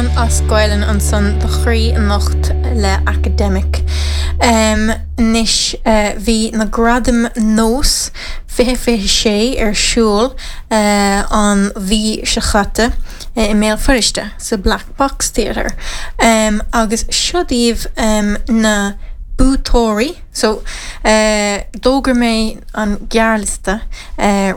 As Gaelainn ansan do chroí anocht le Academic. Anois bhí na Gradaim Nós 2026 ar siúl an mhí seo chaite i mBéal Feirste sa Black Box Theatre agus seo daoibh na buaiteoirí. So d'fhógair mé an gearrliosta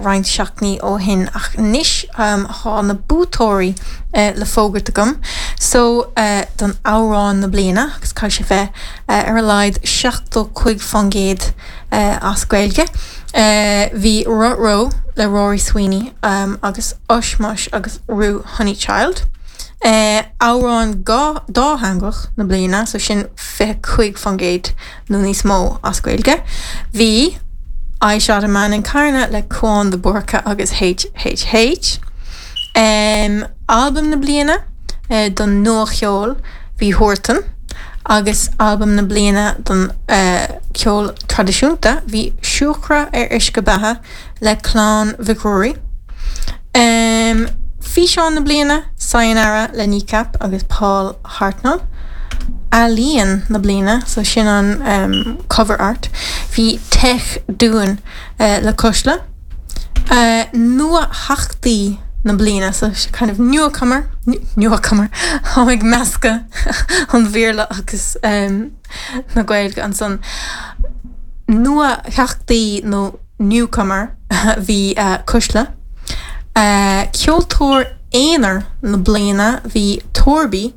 roinnt seachtainí ó shin ach anois tá na buaiteoirí le fógairt agam. So don amhrán na bliana agus caithfidh sé bheith ar a laghad 75% as Gaeilge. Bhí Ruh-Roh le Rory Sweeney agus Ushmush agus Ru Honeychild. Amhrán dátheangach na bliana, so sin 25% nó níos mó as Gaeilge. Bhí I Shot a Man in Carna le Cúán de Búrca agus HHH. Albam na bliana don nuacheol bhí Huartan agus albam na bliana don cheol traidisiúnta bhí Siúcra ar Uisce Beatha le Clann Mhic Ruairí. Físeán na bliana, Sayonara le Kneecap agus Paul Hartnoll. Ealaíon na bliana, so sin an cover art, bhí Tech Dúin le Cuisle. Nuatheachtaí na bliana, so kind of newcomer, newcomer, táim ag meascadh an Bhéarla agus na Gaeilge ansan. Nuatheachtaí nó newcomer bhí Cuisle. Ceoltóir aonair na bliana bhí Torby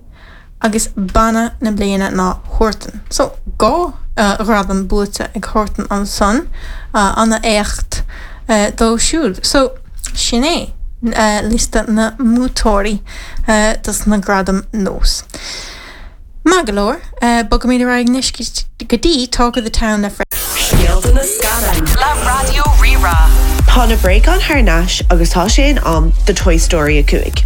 agus banna na bliana ná Huartan. So 2 ghradam buaite ag Huartan ansan, an-éacht dóibh siúd. So sin é liosta na mbuaiteoirí dos na gradaim Nós. Maith go leor, bogaimid ar aghaidh anois go dtí Talk of the Town le Fred. Scéalta na Scannán le Raidió Rí-Rá. Tá na bréagáin thar n-ais agus tá sé in am do Toy Story 5.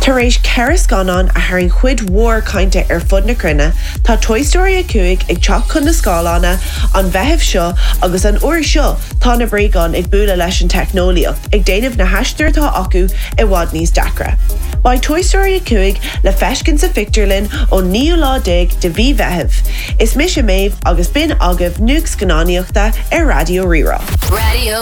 Tar éis 4 scannán a tharraing cuid mhór cainte ar fud na cruinne, tá Toy Story 5 ag teacht chun na scáileána an Mheitheamh seo agus an uair seo tá na bréagáin ag bualadh leis an teicneolaíocht, ag déanamh na haistir atá acu i bhfad níos deacra. Beidh Toy Story 5 le feiscint sa phictiúrlann ón naoú lá déag de mhí Mheithimh. Is mise Méabh agus b'in agaibh nuacht scannánaíochta ar Raidió Rí-Rá. Raidió.